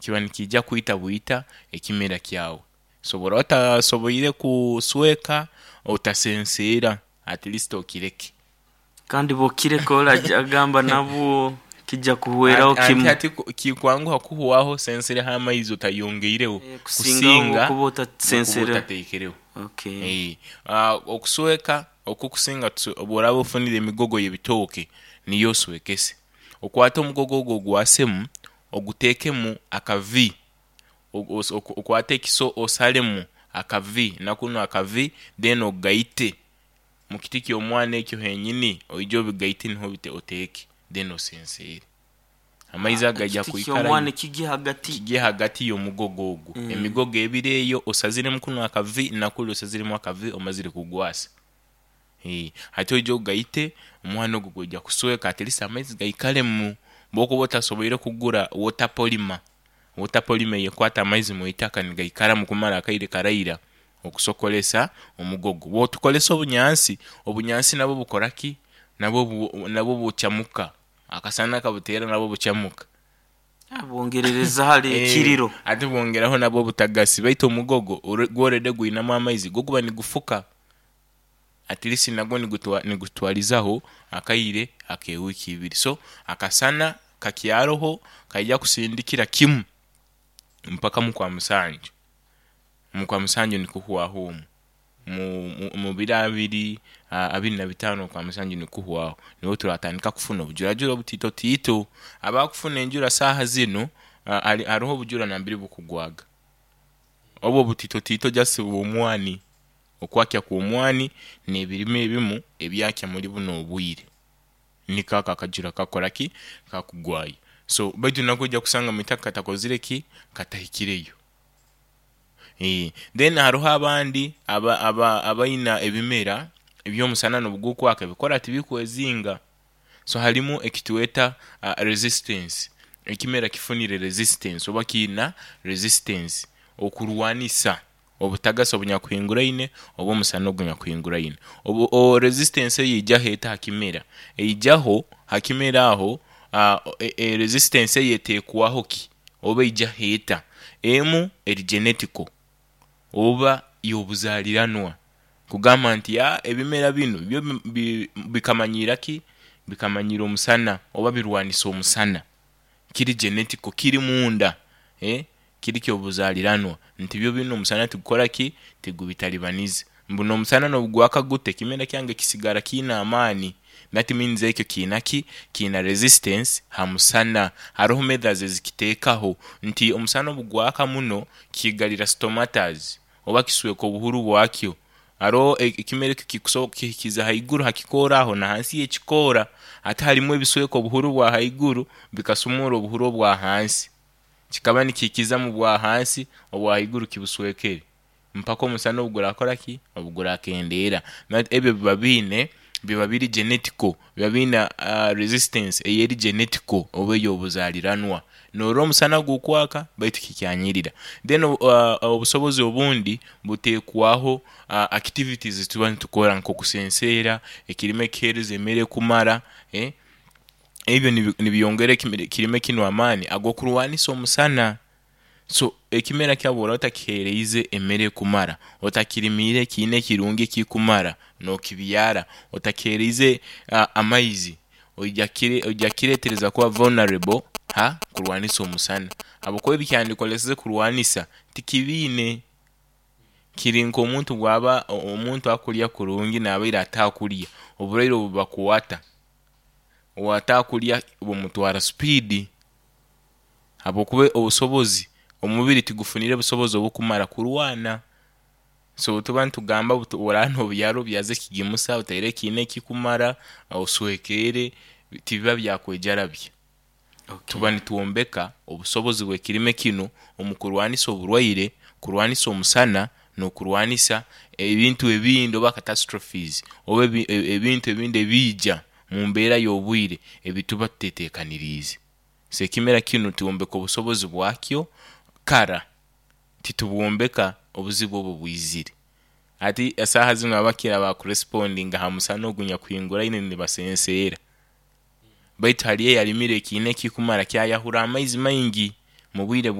Kiba nikiija kwita bwita ekimera kyawe. So obu oraaba otasoboire kusweeka, otasenseera, at least okireke. Kandi bwokireka oli agamba nabwo kijja kuhweraho kimu. Hati kikwanguha kuhwaho osensereho amaizi otayongeireho kusinga kusinga kuba nokuba otasensereho. Otatekereho. Okusweka okukusinga obu oraaba ofunire emigogo y'ebitooke niyo oswekese. Okwate omugogo ogu ogwasemu oguteekemu aka V, okwate ekiso osalemu aka V nakunu aka V then ogaite mukiti ky'omwani ekyo henyini oije obigaite niho oti oteeke then osenseere. Amaizi ago gaija Ekiti kwikarayo. ky'omwani kigye hagati. Kigye hagati y'omugogo ogwo. Emigogo ebiri eyo osaziremu kunu aka V nakuli osaziremu aka V omazire kugwasa. Hati oije ogaite, omwani ogwo gwija kusweka at least amaizi gaikalemu. Bwokuba otasoboire kugura water polymer, water polymer eyo ekwata amaizi mwitaka nigaikaramu kumara akaire karaira okusokolesa omugogo. Bwotukolesa obunyansi, obunyansi nabwo bukoraki, nabwo bukyamuka, akasana kabuteera nabwo bukyamuka. Bwongerereza hali ekiriro. Ate bwongeraho nabwo obutagasi baitu omugogo gwo already gwinamu amaizi gwo guba nigufuka at least nagwo nigutwarizaho akaire ak'ewiiki ibiri. So akasana kakyaroho kaija kusindikira kimu mpaka mukwamusanju, mukwamusanju nikuhwaho omwo, mubiro abiri, 25 okwamusanju nikuhwaho nibwo turatandika kufuna obujurajura obutitotiito. Abakufuna enjura saaha zinu haroho obujura nambere bukugwaga, obwo obutitotiito just bw'omwani, okwakya kw'omwani n'ebirime ebimu ebyakya omuri bunu obwire niko ako akajura kakukoraki, kakugwayo. So baitu nakwo oija kusanga omwitaka katakozireki, katahikireyo. Then haroho abandi abaina ebimera eby'omusana nobugukwaka ebikoora tibikwezinga, so harimu ekitweta resistance, ekimera kifunire resistance oba kiina resistance okurwanisa obutagasi obunyakuhinguraine oba omusana ogunyakuhinguraine. Resistance eyo eijaho eta hakimera? Eijaho hakimera aho, resistance eyo etekwaho ki oba eijaho eta? Emu eri genetical oba y'obuzaliranwa kugamba nti ebimera binu byo bikamanyira ki, bikamanyira omusana oba birwanisa omusana kiri genetical kiri munda kiri kyobuzaliranwa nti byo binu omusana tigukoraki, tigubitaribaniza mbu n'omusana nobugwaka guta ekimera kyange kisigara kiina amaani that means ekyo kiina ki, kiina resistance ha musana. Haroho methods ezikitekaho nti omusana obugwaka muno kiigarira stomatas oba kisweka obuhuru bwakyo. Haroho ekimera ekyo kikusobola kukihikiza haiguru hakikoora aho nahansi yekikoora ate harimu ebisweka obuhuru obwahaiguru bikasumura obuhuru obwahansi, kikaba nikihikiza mubwahansi obwahaiguru kibuswekere mpaka omusana obugurakoraki, obugurakendeera. Ebyo biba biine, biba biri genetical, biba biine resistance eyeri genetical oba ey'obuzaliranwa. Norora omusana gukwaka baitu kikyanyirira. Then obusobozi obundi butekwaho activities ezituba nitukora nk'okusenseera, ekirime kuhereza emere ekumara, ebyo nibyongera ekirime kinu amaani ag'okurwanisa omusana. So ekimera kyawe bworaba otakihereize emere ekumara, otakirimiire kiine ekirungi ekikumara nokibyara, otakihereize amaizi, oija kiretereza kuba vulnerable ha kurwanisa omusana habwokuba ebikyandikoleseze kurwanisa tikibiine. Kiri nk'omuntu bwaba omuntu akurya kurungi nabaire atakurya, oburwaire obubakwata, owatakurya bumutwara speed habwokuba obusobozi, omubiri tigufunire busobozi obukumara kurwana. So obutuba nitugamba oraba nobyara obyaze ekigimusa, oteire ekiina ekikumara, oswekere, tibiba byakwejarabya. Tuba nitwombeka obusobozi bw'ekirime kinu omukurwanisa oburwaire, kurwanisa omusana, n'okurwanisa ebintu ebindi oba catastrophes oba ebintu ebindi ebiija mumbeera y'obwire ebituba tutetekaniriize. So ekimera kinu twombeka obusobozi bwakyo kara, titubwombeka obuzibu obu bwizire. Hati esaaha zinu abakira bakurespondinga ha musana ogunyakuhinguraine nibasenseera, baitu hariyo eyarimire ekiina ekikumara kyayahura amaizi maingi mubwire.